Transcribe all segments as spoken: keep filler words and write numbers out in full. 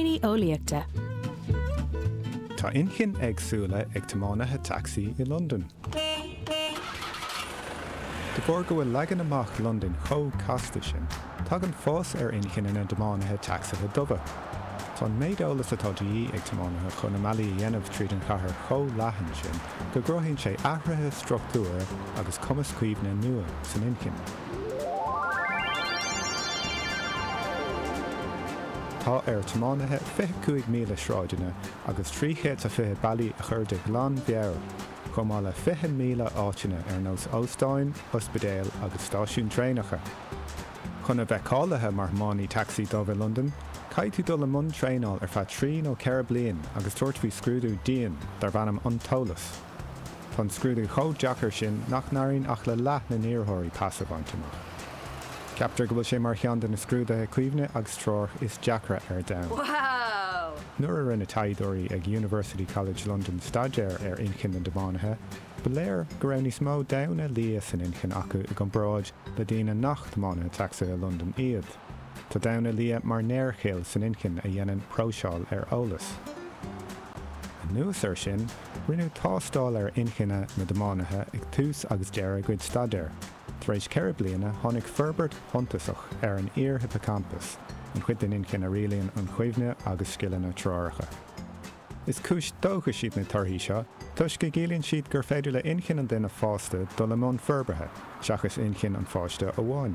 Blúiríní Eolaíochta. Tá inchinn éagsúla ag tiománaithe tacsaí i Londain. De bharr go bhfuil leagan amach Londain chomh casta sin, tagann fás ar inchinne na dtiománaithe tacsaithe dubha. Tá an méid eolas atá de dhíth ag tiománaithe chun a mbealaí a dhéanamh tríd an chathair chomh leathan sin go gcruthaíonn sé athruithe struchtúir agus cumas cuimhne nua san inchinn. Tá ar tiománaithe fiche cúig míle sráideanna agus trí chéad a fiche bealaí a chur de ghlanmheabhair, chomh maith le fiche míle áiteanna ar nós óstáin, ospidéil agus stáisiúin traenacha. Chun a bheith cáilithe mar thiománaí tacsaí dubh i Londain, caithfidh tú dul i mbun traenáil ar feadh trí nó ceithre bliain agus tabhairt faoi scrúdú dian darb ainm an t-eolas. Tá an scrúdú chomh deacair sin nach n-éiríonn ach le leath na n-iarrthóirí pas a bhaint amach. Ceaptar go bhfuil sé mar cheann de na scrúduithe cuimhne agus treorach is deacra ar domhan. Wow! Nuair a rinne taighdeoirí ag University College London staidéar ar inchinn na dtiománaithe, ba léir go raibh níos mó damhna liath san inchinn acu i gcomparáid le daoine nach tiománaithe tacsaithe Londain iad. Tá damhna liath mar néarchill san inchinn a dhéanann próiseáil ar eolas. Anuas air sin, rinneadh tástáil ar inchinne na dtiománaithe ag tús agus deireadh a gcuid staidéir. Tar éis ceithre bliana tháinig forbairt shuntasach ar an iar-hippocampus, an chuid den inchinn a rialaíonn an chuimhne agus scileanna treoracha. Is cúis dóchais iad na torthaí seo, toisc go gciallaíonn siad gur féidir le inchinn an duine fásta dul i mbun forbartha, seachas inchinn an pháiste amháin.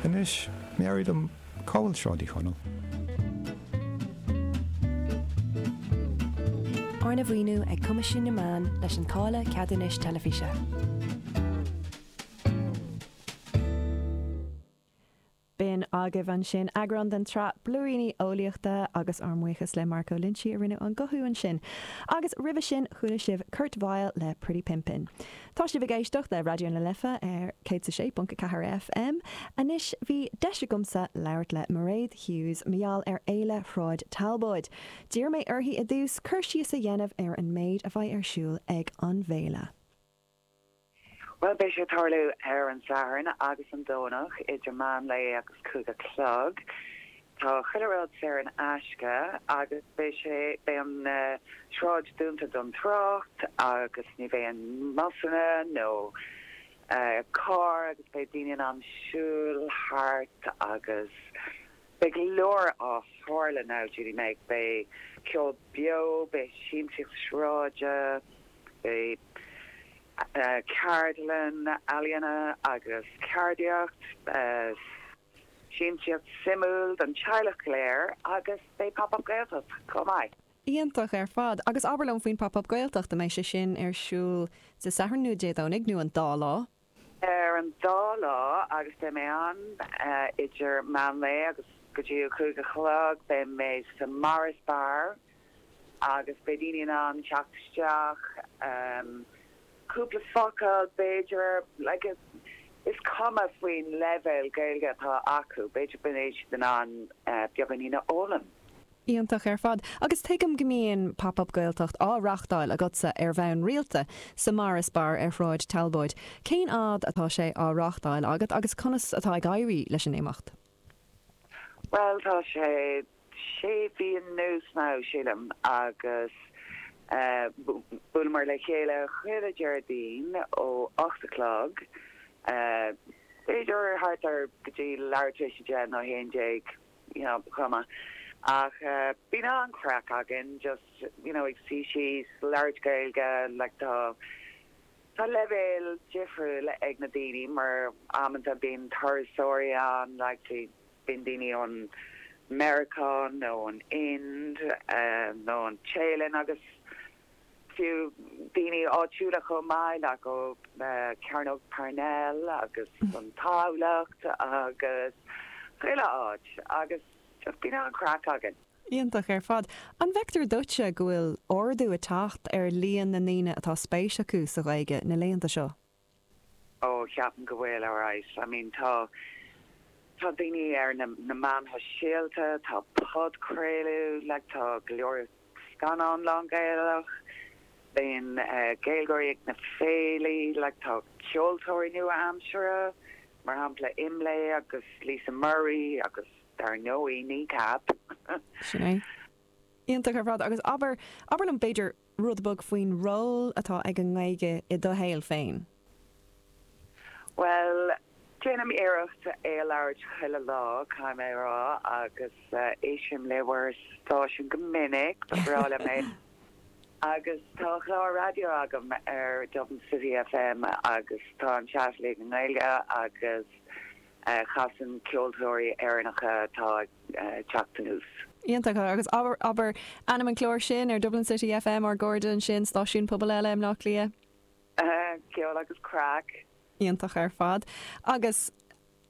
Anois, meabhraigh dom, cá bhfuil Sráid Uí Chonaill? Arna mhaoiniú ag Coimisiún na Meán leis an táille ceadúnais teilifíse. B'in agaibh ansin eagrán den tsraith Blúiríní Eolaíochta agus ár mbuíochas le Marco Loinsigh a rinne an guthú ansin. Agus roimhe sin chuala sibh Kurt Vile le Pretty Pimpin'. Tá sibh ag éisteacht le Raidió na Life ar céad a sé ponc a ceathair FM. Anois bhí deis agamsa labhairt le Mairéad Hughes mar gheall ar Fhéile Shráid Talbóid. D'iarr mé uirthi i dtús cur síos a dhéanamh ar an méid a bheidh ar siúl ag an bhféile. Bhuel, beidh sé ag tarlú ar an Satharn agus an Domhnach idir meán lae agus cúig a chlog. Tá chuile rud saor in aisce agus beidh sé, beidh an sráid dúnta don trácht agus ní bheidh aon mbusanna nó carr agus beidh daoine in ann siúl thart agus beidh go leor á tharlú now, Judy Meg. Beidh ceol beo, beidh siamsaíocht sráide, beidh ceardlann ealaíona agus ceardaíocht, siamsaíocht suimiúil don teaghlach go léir agus beidh Pop Up Gaeltacht chomh maith. Iontach ar fad. Agus abair liom faoin Pop Up Gaeltacht, an mbeidh sé sin ar siúl Dé Sathairn nó Dé Domhnaigh nó an dá lá? Ar an dá lá agus beidh mé ann idir meán lae agus go dtí a cúig a chlog. Beidh mé sa Morris Bar agus beidh daoine in ann teacht isteach, cúpla focal b'fhéidir, like is cuma faoin leibhéal Gaeilge atá acu, b'fhéidir go mbeidh siad in ann beagáinín a fhoghlaim. Iontach ar fad. Agus tuigim go mbíonn Pop Up Gaeltacht á reáchtáil agatsa ar bhonn rialta sa Morris Bar ar Shráid Talbóid. Cén fhad atá sé á reáchtáil agat agus conas atá ag éirí leis an imeacht? Bhuel, tá sé sé mhí anuas now, sílim, agus buaileamar le chéile chuile Déardaoin ó ocht a chlog, b'fhéidir thart ar go dtí leathuair tar éis a deich nó a haon déag, you know, chomh maith. Ach bíonn an-chraic againn, just, you know, ag suí síos, labhairt Gaeilge, like tá, tá leibhéal difriúil ag na daoine mar amanta bíonn turasóirí ann, like, bíonn daoine ón Meiriceá nó ón Ind nó an Téalainn agus fiú daoine áitiúla chomh maith, like ó Cearnóg Parnell agus an Tamhlacht agus chuile áit agus just bíonn an-chraic againn. Iontach ar fad. An bhfeictear duitse go bhfuil ardú ag teacht ar líon na ndaoine atá spéis acu sa Ghaeilge na laethanta seo? Ó, ceapaim go bhfuil, alright. I mean, tá, tá daoine ar na, na meáin shóisialta, tá podchraoladh, like tá go leor scannán lán-Ghaelach, bíonn Gaeilgeoirí ag na féilí, like tá ceoltóirí nua-aimseartha, mar shampla Imlé agus Lisa Murray agus dar ndóigh Kneecap. Sin é. Iontach ar fad agus abair abair liom b'fhéidir rud beag faoin ról atá ag an nGaeilge i do shaol féin. Well, déanaim iarracht é a labhairt chuile lá caithfidh mé rá agus uh, éistim le bhur stáisiún go minic ba bhreá liom é. Agus tá chlár raidió agam ar Dublin City FM agus tá an chat le i nGaeilge agus uh, casann ceoltóirí Éireannacha atá uh, teacht anuas. Iontach agus abair abair ainm an chlár sin ar Dublin City FM ar Gordon sin stáisiún pobail eile i mBleá Cliath. Uh, ceol agus craic. Iontach ar fad. Agus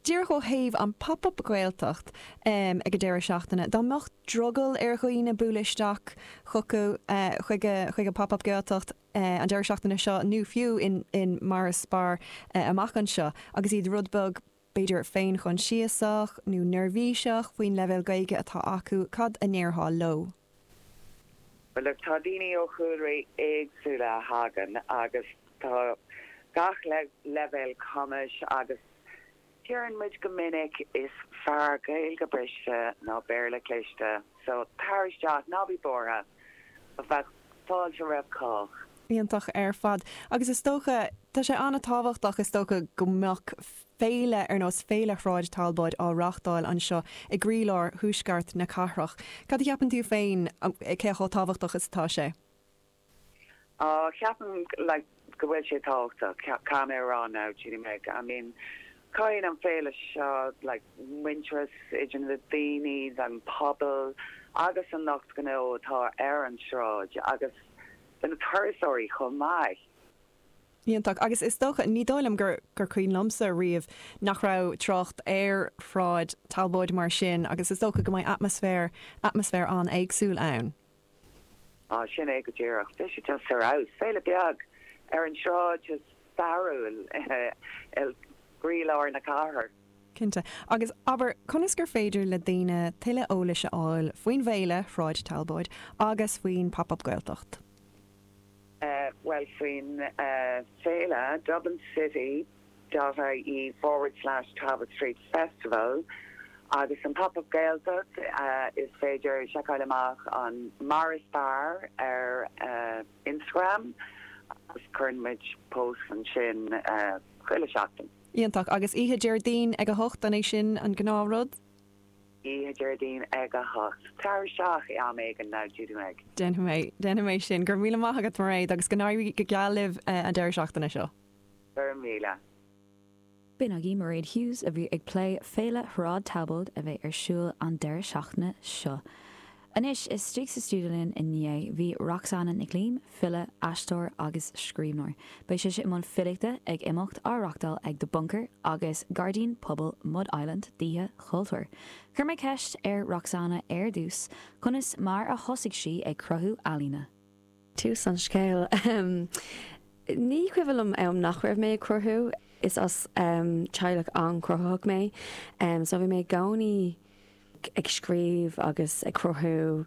díreach ó thaobh an pop-up Gaeltacht um, ag an deireadh seachtaine. Dá mbeadh drogall ar dhaoine bualadh isteach chucu uh, chuige chuige pop-up Gaeltacht uh, an deireadh seachtaine seo nó fiú in, in Morris Bar uh, amach anseo agus iad rud beag b'fhéidir féinchoinsiasach nó neirbhíseach faoin leibhéal Gaeilge atá acu cad a ndéarfá leo. Well look, tá daoine ó chúlraí éagsúla a thagann agus tá gach le leibhéal cumais agus deireann muid go minic is fearr Gaeilge briste ná Béarla cliste, so tar isteach ná bí buartha a bheadh fáilte roimh chách. Iontach ar fad. Agus is dócha tá sé an-tábhachtach is dócha go mbeadh féile ar nós féile Shráid Talbóid á reáchtáil anseo i gcroílár thuaisceart na cathrach. Cad a cheapann tú féin cé chomh tábhachtach is atá sé? Uh, ceapaim like, go bhfuil sé tábhachtach caithfidh mé rá now Judy I mean, Cothaíonn an féile seo like, muintearas idir na daoine an pobal agus an lucht gnó atá ar an sráid agus na turasóirí chomh maith. Iontach agus is dócha ní dóigh liom gur gur cuimhin liomsa riamh nach raibh trácht ar Shráid Talbóid mar sin agus is dócha go mbeidh atmaisféar atmaisféar an-éagsúil ann. Á sin é go díreach, Bhí sé just ar fheabhas féile beag ar an sráid is stairiúil i gcroílár na cathrach. Cinnte. Agus abair conas gur féidir le daoine tuilleadh eolais a fháil faoin bhféile Shráid Talbóid agus faoin pop-up Gaeltacht. Uh, well faoin uh, féile Dublin City dot ie forward slash Talbot Street Festival agus an pop-up Gaeltacht uh, is féidir seiceáil amach an Morris Bar ar uh, Instagram agus cuireann muid post ansin uh, chuile seachtain. Iontach agus oíche Déardaoin ag a hocht an é sin an gnáthrud? Oíche Déardaoin ag a hocht. Tar isteach am éigin now Judy Meg. Déanfaidh mé déanfaidh mé sin gur míle maith agat Mairéad agus go n-éirí go geal libh uh, an deireadh seachtaine seo. Gur míle. B'in agaibh Mairéad Hughes a bhí ag plé féile Shráid Talbóid a bheidh ar siúl an deireadh seachtaine seo. Anois istigh sa stiúideo linn inné bhí Roxanna Nic Liam, file, aisteoir agus scríbhneoir. Beidh sí i mbun filíochta ag imeacht á reáchtáil ag The Bunker agus Gairdín Pobail Mud Island d'Oíche Chultúir. Chuir mé ceist ar Roxanna ar dtús, conas mar a thosaigh sí ag cruthú ealaíne. Tús an scéil. Um, ní cuimhin liom am nach raibh mé ag cruthú is as um, teaghlach an-chruthaitheach mé, um, so bhí mé i gcónaí ag scríobh agus ag cruthú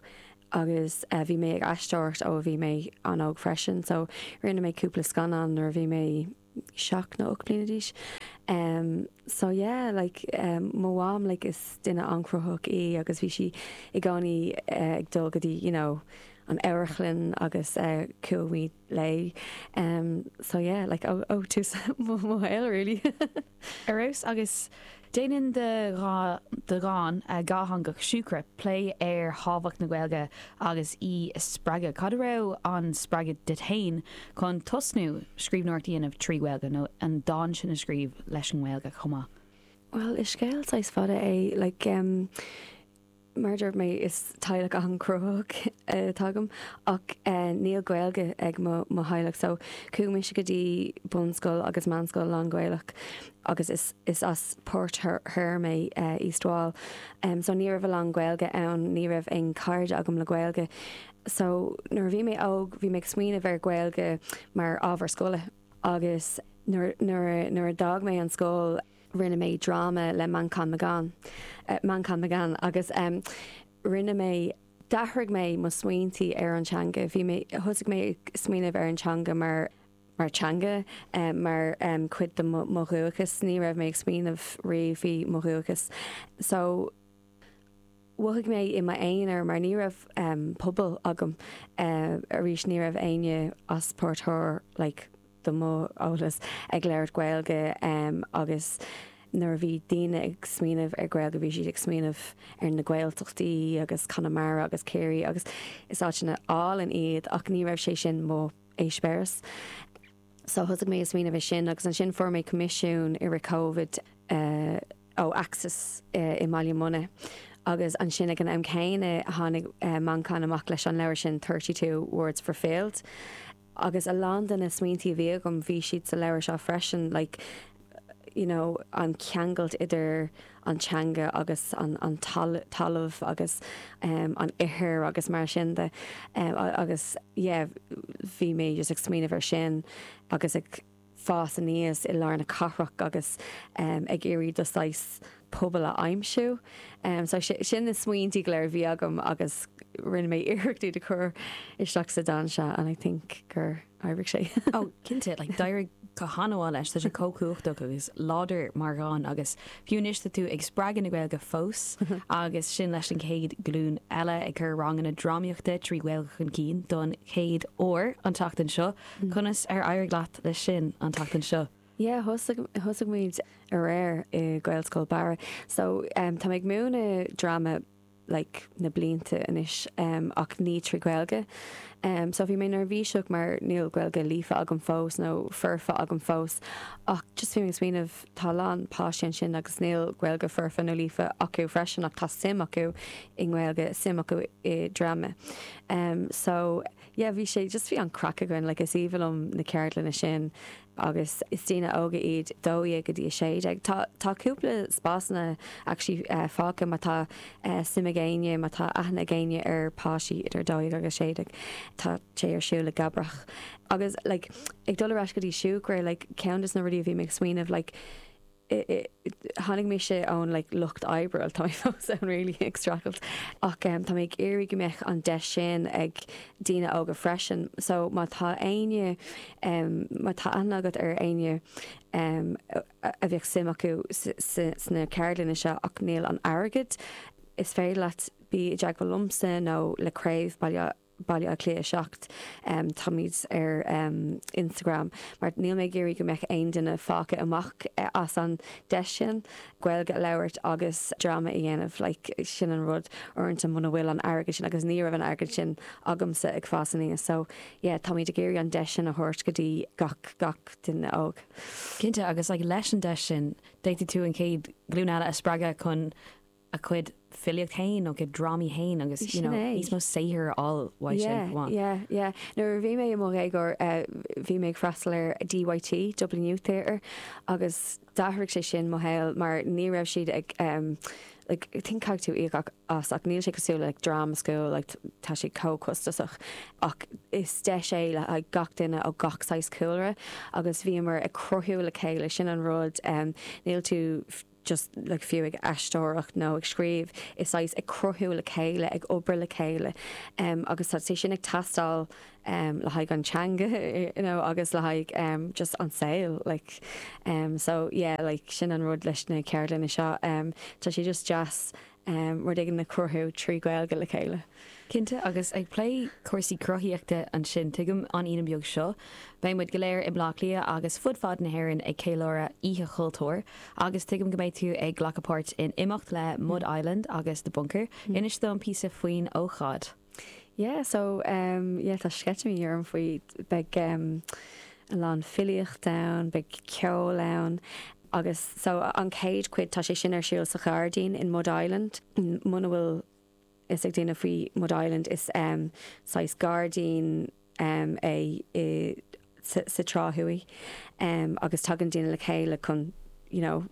agus uh, bhí mé ag aisteoireacht ó bhí mé an-óg freisin, so rinne mé cúpla scannán nuair bhí mé seacht nó ocht bliana d'aois. Um, so yeah, like um, mo mham like, is duine an-chruthaitheach í agus bhí sí i gcónaí uh, ag dul go dtí you know, an amharclann agus uh, chuaigh léi. Um, so yeah, like ó ó tús mo shaol really. Arós agus déanann do dhán dátheangach Siúcra plé ar thábhacht na Gaeilge agus í a spreagadh. Cad a raibh an spreagadh duit féin chun tosnú scríbhneoireacht a dhéanamh trí Ghaeilge nó an dán sin a scríobh leis an nGaeilge chomh maith. Well is scéal saghas fada é like, um, mar dúirt mé is teaghlach an-chruthaitheach atá agam ach uh, níl Gaeilge ag mo mo theaghlach so chuaigh mise go dtí bunscoil agus meánscoil lán-Ghaelach agus is, is as Port Thoir mé uh, East Wall. Um, so ní raibh a lán Gaeilge ann ní raibh aon chairde agam le Gaeilge. So nuair bhí mé óg bhí mé ag smaoineamh ar Gaeilge mar ábhar scoile agus nuair nuair a d'fhág mé an scoil rinne mé dráma le Manchán Magan uh, Manchán Magan agus um, rinne mé d'athraigh mé mo smaointí ar an teanga bhí mé thosaigh mé smaoineamh ar an teanga mar mar teanga um, mar um, cuid de mo dhúchas ní raibh mé ag smaoineamh riamh faoi mo dhúchas. So mhothaigh mé i m'aonar mar ní raibh um, pobal agam uh, arís ní raibh éinne as Port Thoir like, do mo eolas ag labhairt Gaeilge um, agus nuair a bhí daoine ag smaoineamh ar Gaeilge bhí siad ag smaoineamh ar na Gaeltachtaí agus Conamara agus Ciarraí agus is áiteanna álainn iad ach ní raibh sé sin mo eispéireas. So thosaigh mé ag smaoineamh é sin agus ansin fuair mé coimisiún i rith COVID uh, ó Axis uh, i mBaile Munna. Agus ansin ag an am céanna tháinig uh, Manchán amach leis an leabhar sin thirty two words for failed. Agus a lán de na smaointe a bhí agam bhí siad sa leabhar seo freisin, like, you know, an ceangal idir an teanga agus an, an tal talamh agus um, an ithir agus mar sin de um, agus yeah, bhí mé just ag smaoineamh ar sin agus ag fás aníos i lár na cathrach agus um, ag iarraidh do saghas pobal a aimsiú. Um, so sin na smaointe go léir a bhí agam agus rinne mé iarracht iad a chur isteach sa dán seo and I think gur oibrigh sé. Ó cinnte, like d'éirigh go han-mhaith leis tá sé chomh cumhachtach agus láidir mar dhán agus fiú anois tá tú ag spreagadh na Gaeilge fós agus sin leis an chéad glúin eile ag cur ranganna drámaíochta trí Ghaeilge chun cinn don chéad uair an tseachtain seo, Conas ar éirigh leat leis sin an tseachtain seo? Yeah, thosaigh muid aréir i Gaelscoil Barra. So um, tá ag múineadh dráma like, na blianta anois um, ach ní trí Gaeilge. Um, so bhí mé neirbhíseach mar níl Gaeilge líofa agam fós nó foirfe agam fós ach just bhí mé smaoineamh tá lán páistí ansin agus níl Gaeilge foirfe nó líofa acu freisin ach tá suim acu i nGaeilge suim acu i dráma. Um, so yeah, bhí sé just bhí an craic againn like, is aoibhinn liom na ceardlanna sin agus is daoine óga iad dó dhéag go dtí a sé déag. Tá tá cúpla spásanna actually uh, fágtha má tá uh, suim ag éinne má tá aithne ag éinne ar páistí idir dó dhéag agus sé déag. Tá sé ar siúl i gCabrach. Agus like, ag dul ar ais go dtí siúcra like, ceann des na rudaí a bhí mé ag smaoineamh like, tháinig mise ón like, lucht oibre tá mé fós ann really ag streachailt ach um, tá mé ag iarraidh go mbeadh an deis sin ag daoine óga freisin so má tá éinne um, má tá aithne agat ar éinne um, a bheadh suim acu sna ceardlanna seo ach níl an airgead is féidir leat bí i dteagmháil liomsa nó le craobh Baile Baile Átha Cliath seacht um, táimid ar um, Instagram mar níl mé ag iarraidh go mbeadh aon duine fágtha amach eh, as an deis sin Gaeilge a labhairt agus dráma a dhéanamh like, sin an rud uaireanta muna bhfuil an airgead sin agus ní raibh an airgead sin agamsa ag fás aníos so yeah, táimid ag iarraidh an deis sin a thabhairt go dtí gach gach duine óg. Cinnte agus like, leis an deis sin d'fhéadfadh tú an chéad ghlúin eile a spreagadh chun a cuid filíocht féin nó cuid drámaí féin agus you know, níos mó saothar all Yeah, yeah, yeah. Nuair a bhí mé i mo dhéagóir uh, bhí mé ag freastal ar DYT Dublin Youth Theatre agus d'athraigh sé sin mo shaol mar ní raibh siad ag um, like, I think caithfidh tú íoc as ach níl sé cosúil like, drama school like, tá sé chomh costasach ach is deis é le haghaidh gach duine ó gach saghas cúlra agus bhíomar ag cruthú le chéile sin an rud um, níl tú just like fiú ag aisteoireacht nó ag scríobh is saghas ag cruthú le chéile ag obair le chéile um, agus tá sé sin ag teastáil um, le haghaidh an teanga you know, agus le haghaidh um, just an saol like um, so yeah like sin an rud leis na ceardlanna seo um, tá sé just deas um, rud éigin a chruthú trí Ghaeilge le chéile. Cinnte agus ag plé cúrsaí cruthaíochta ansin tuigim an Aoine beag seo, Beidh muid go léir i mBleá Cliath agus fud fad na hÉireann ag ceiliúradh Oíche Chultúir, agus tuigim go mbeidh tú ag glacadh páirt in imeacht le Mud Island agus The Bunker, mm. Inis dom píosa faoin ócáid. Yeah, so um, yeah, tá sceitimíní orm faoi beidh um, a lán filíocht ann, beidh ceol ann, agus so an chéad chuid tá sé sin ar siúl sa ghairdín in Mud Island. Muna bhfuil fhios ag daoine faoi Mud Island is um, saghas gairdín um, é i, sa, sa Trá Thuaidh um, agus tagann daoine le chéile chun you know,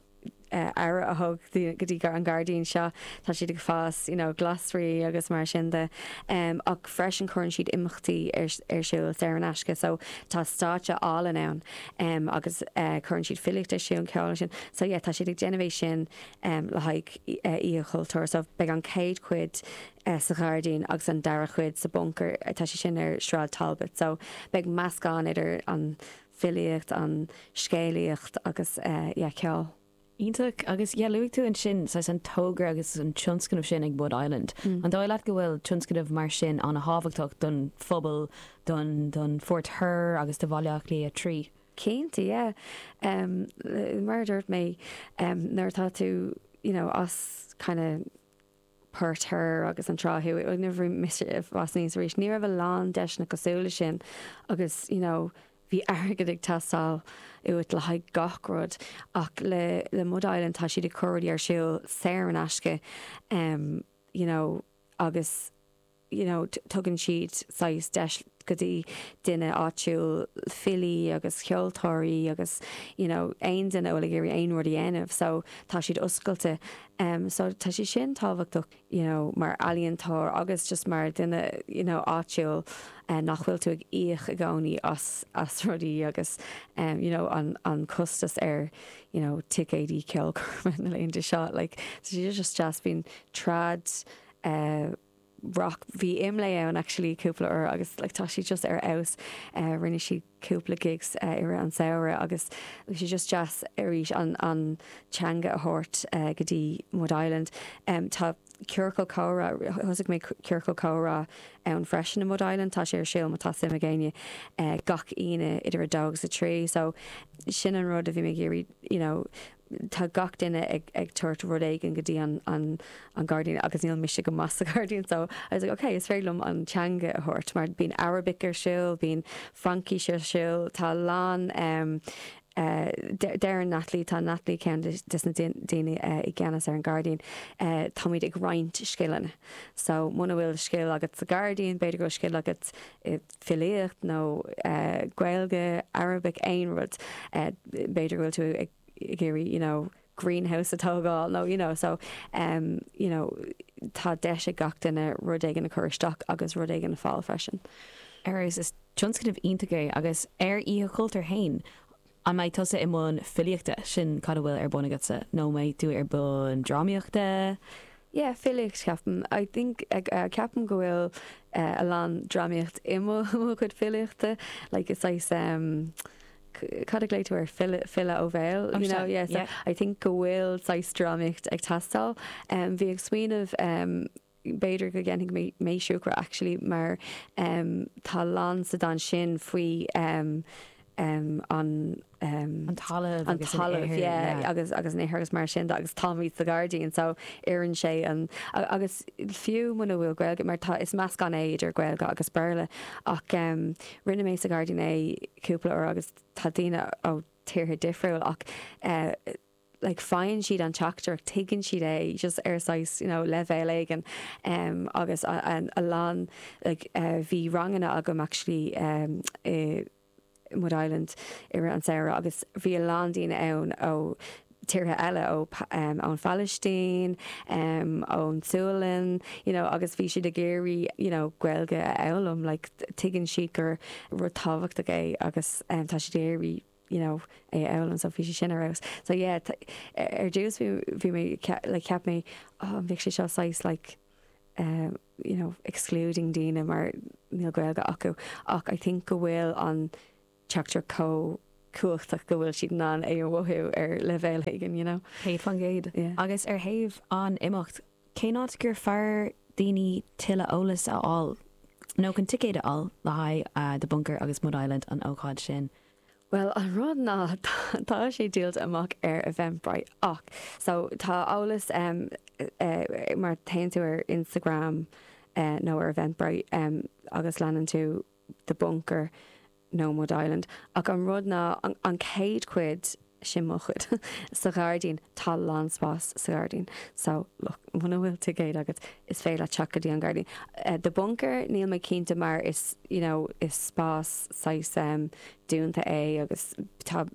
uh, aire a thabhairt go dtí an gairdín seo tá siad ag fás you know, glasraí agus mar sin de um, ach freisin cuireann siad imeachtaí ar, ar siúl saor in aisce so tá stáitse álainn ann um, agus uh, cuireann siad filíocht ar siúl ceol sin so yeah, tá siad ag déanamh é sin um, le haghaidh uh, Oíche Chultúir so beidh an chéad chuid uh, sa ghairdín agus an dara chuid sa bunker tá sé sin ar Sráid Talbot so beidh meascán idir an filíocht an scéalaíocht agus uh, yeah, ceol. Iontach agus yeah, luaigh tú ansin saghas an togra agus an tionscnamh sin ag Mud Island. Mm. An dóigh leat go bhfuil tionscnamh mar sin an-thábhachtach don phobal don don Phort Thoir agus do Bhaile Átha Cliath trí. Cinnte yeah. Um, mar dúirt mé um, nuair tá tú you know, as kind of Port Thoir agus an Trá Thuaidh never mis was níos arís ní raibh a lán deiseanna cosúil sin agus you know, bhí airgead ag teastáil uait le haghaidh gach rud ach le le Mud Island tá siad ag cur rudaí ar siúl saor in aisce um, you know, agus you know, tugann siad saghas deis go dtí duine áitiúil filí agus ceoltóirí agus you know, aon duine ag iarraidh aon rud a dhéanamh, so tá siad oscailte. Um, so tá sé sin tábhachtach you know, mar ealaíontóir agus just mar duine you know, áitiúil uh, nach bhfuil tú ag íoc i gcónaí as, as rudaí agus um, you know, an, an costas ar you know, ticéidí ceolchoirme na laethanta seo like, so sé just just bíonn trad uh, rock bhí Imlé ann actually cúpla uair agus like, tá sí just ar fheabhas uh, rinne sí cúpla gigs uh, ar an samhradh agus sé just deas arís an, an teanga a thabhairt uh, go dtí Mud Island. Um, tá ciorcal comhrá thosaigh mé ciorcal comhrá ann freisin i Mud Island tá sé ar siúl má tá suim ag éinne uh, gach Aoine idir a dó agus a trí so sin an rud a bhí mé ag iarraidh you know, tá gach duine ag, ag tabhairt rud éigin go dtí an, an, an gairdín agus níl mise go maith sa ghairdín so I was like okay is féidir liom an teanga a thabhairt mar bíonn Arabic ar siúl bíonn Fraincis ar siúl tá lán um, Uh, deir Natalie tá Natalie ceann de na daoine uh, i gceannas ar an gairdín uh, táimid ag roinnt scileanna. So muna bhfuil scil agat sa gairdín, b'fhéidir go scil agat i filíocht nó uh, Gaeilge, Arabic aon rud uh, b'fhéidir go bhfuil tú ag ag iarraidh you know, greenhouse a tógáil no you know so um, you know tá deis ag gach duine rud éigin a chur isteach agus rud éigin a fháil freisin. Ar is tionscnamh iontach é agus ar Oíche Chultúir féin an mbeidh tusa i mbun filíochta sin cad a bhfuil ar bun agatsa nó mbeidh tú ar bun drámaíochta? Yeah, filíocht ceapaim. I think uh, ceapaim go bhfuil uh, a lán drámaíocht i mo chuid filíochta, like it's like um, cad a ghlaoigh tú ar file file ó bhéal you know yeah, so yeah. I think go bhfuil saghas drámaíocht ag teastáil um, bhí ag smaoineamh um, b'fhéidir go ndéanfaidh mé mé siúcra actually mar um, tá lán sa dán sin faoi um, um, an um, an talamh an talamh yeah, yeah. agus agus an ithir agus mar sin agus táimid sa ghairdín so oireann sé an agus fiú muna bhfuil Gaeilge mar tá is meascán é idir Gaeilge agus Béarla ach um, rinne mé sa ghairdín é cúpla uair agus tá daoine ó tíortha difriúil ach uh, like faigheann siad an teachtaireacht tuigeann siad é just ar saghas you know, leibhéal éigin um, agus a, a, a lán like, uh, bhí ranganna agam actually um, i Mud Island ar an samhradh agus bhí a lán daoine ann ó tíortha eile ó um, ón Phalaistín, um, ón Sualainn, you know, agus bhí siad ag iarraidh you know, Gaeilge a fhoghlaim like, tuigeann siad gur rud tábhachtach é agus um, tá siad ag iarraidh you know, é a fhoghlaim so bhí sé sin ar fheabhas. So yeah, ar dtús bhí mé like, cheap mé oh, bhí sé seo saghas like, um, you know, excluding daoine mar níl Gaeilge acu ach I think go bhfuil an teachtaireacht chomh cumhachtach go bhfuil siad in ann é a mhothú ar leibhéal éigin, you know. Céad faoin gcéad. Agus ar thaobh an imeacht, cén áit gur fearr daoine tuilleadh eolas a fháil nó chun ticéad a fháil le haghaidh uh, The Bunker agus Mud Island an ócáid sin. Well an rud ná tá sé díolta amach ar Eventbrite ach so tá eolas um, uh, mar téann tú ar Instagram uh, nó ar Eventbrite um, agus leanann tú The Bunker nó Mud Island ach an rud ná an, an chéad chuid sin mo chuid sa ghairdín tá lán spás sa ghairdín so look muna bhfuil ticéad agat is féidir teacht go dtí an gairdín. Uh, the Bunker níl mé cinnte mar is you know, is spás saghas um, dúnta é agus tá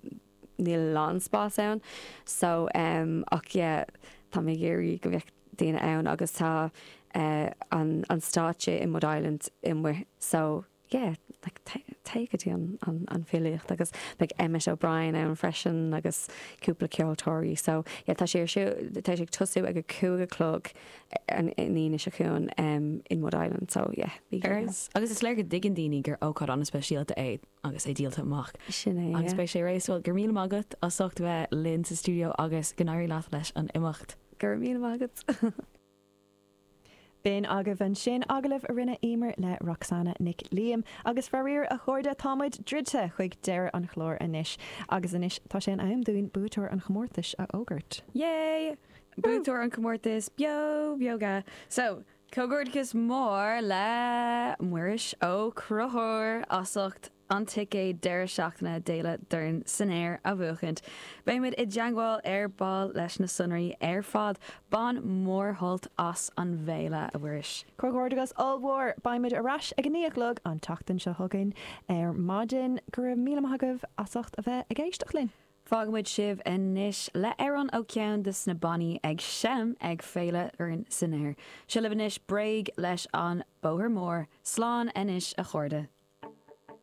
níl lán spás ann so um, ach yeah, tá mé ag iarraidh go mbeadh daoine ann agus tá uh, an, an stáitse i Mud Island amuigh so yeah, like, téigh go dtí an, an, an filíocht agus beidh Emmet O'Brien ann freisin agus cúpla ceoltóirí so yeah, tá sé tá sé ag tosú ag a cúig a chlog an Aoine seo chugainn um, in Wood Island so yeah, bí Agus agus is léir go dtuigeann daoine gur ócáid an-speisialta é agus é díolta amach. Sin é Agus yeah. beidh sé réasúil gur míle maith agat as ucht bheith linn sa stiúideo agus go n-éirí leat leis an imeacht. Gur míle maith agat. B'in agaibh ansin agallamh a rinne Emer le Roxanna Nic Liam agus faraor a chairde táimid druidte chuig deireadh an chláir anois agus anois tá sé in am dúinn buaiteoir an chomórtais a fhógairt. Yay! Buaiteoir an comórtas beo beoga. So, Comhghairdeas mór le Muiris Ó Conchúir as ucht an ticéad deireadh seachtaine d'Fhéile Dorn san Aer a bhuachaint. Beimid i dteagmháil ar ball leis na sonraí ar fad bain mórshult as an bhféile a Mhuiris. Comhghairdeas ollmhór beimid ar ais ag a naoi a chlog an tseachtain seo chugainn ar maidin go raibh míle maith agaibh as ucht a bheith ag éisteacht linn. Fágfaimid sibh anois le amhrán ó cheann de na bannaí ag seinm ag Féile Dorn san Aer. Seo libh anois bréag leis an bóthar mór, slán anois a chairde.